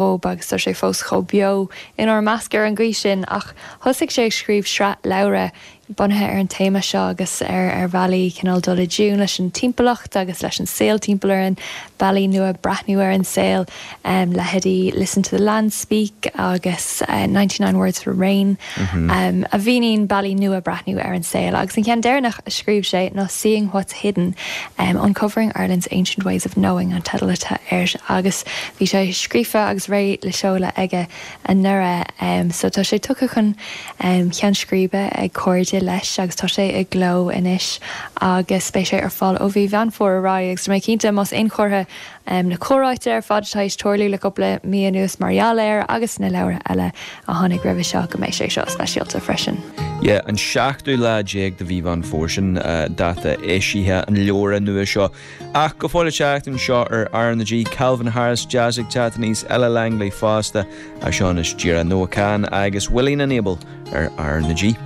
Dhób agus tá sé fós chomh beo inár measc ar an gcaoi sin ach thosaigh sé ag scríobh sraith leabhra bunaithe ar an téama seo agus ar ar bhealaí cineál dul i dtiún leis an timpeallacht agus leis an saol timpeall orainn, bealaí nua breathnú ar an saol, leithéidí Listen to the Land Speak agus 99 Words for Rain a mhíníonn bealaí nua breathnú ar an saol. Agus an ceann deireanach a scríobh sé ná Seeing What's Hidden, Uncovering Ireland's Ancient Ways of Knowing an teideal atá air agus bhí sé scríofa agus réidh le seoladh aige anuraidh. So tá sé tugtha chun ceann scríbe ag cairde leis agus tá sé i gcló anois agus beidh sé ar fáil ó mhí Mheán Fómhair ar aghaidh agus tá mé cinnte más aon chomhartha na comhráite ar fad atá théis tarlú le cúpla mí anuas mar gheall air agus na leabhra eile a tháinig roimhe seo go mbeidh sé seo speisialta freisin. Yeah, an seachtú lá déag de mhí Mheán Fómhair sin dáta eisithe an leabhra nua seo. Ach go fóill ag teacht anseo ar R na G, Calvin Harris, jazz ag teacht aníos, Ella Langley fosta, ach seo anois díreach Noah Kahan agus Willing and Able ar R na G.